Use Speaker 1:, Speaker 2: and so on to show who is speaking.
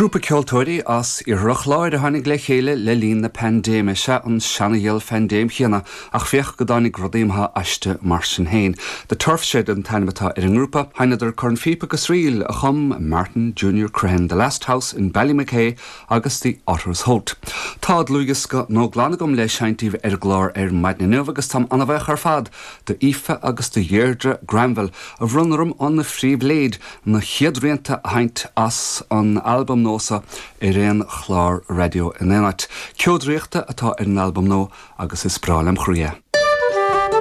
Speaker 1: Grúpa ceoltóirí as Iarthar an Chláir a tháinig le chéile le linn na paindéime. Sea, an seana-ghiall phaindéim chéanna, ach féach go dtáinig rudaí maithe aisti mar sin féin. The Turf Shed an t-ainm atá ar an ngrúpa. Sheinneadar cornphíopa agus ríl a chum Martin Junior Crehan, The Last House in Ballymachay agus The Otter's Holt. Tá dlúthdhiosca nua glan agam le seinnt daoibh ar an gclár ar maidin inniu agus táim an-bhuíoch ar fad d'Aoife agus do Dheirdre Granville a bhronn orm an phribhléid na chéad rianta a sheinnt as an albam nua seo ar aon chlár raidió in aon áit. Ceo Draíochta atá ar an albam nua agus is breá lem chroí é.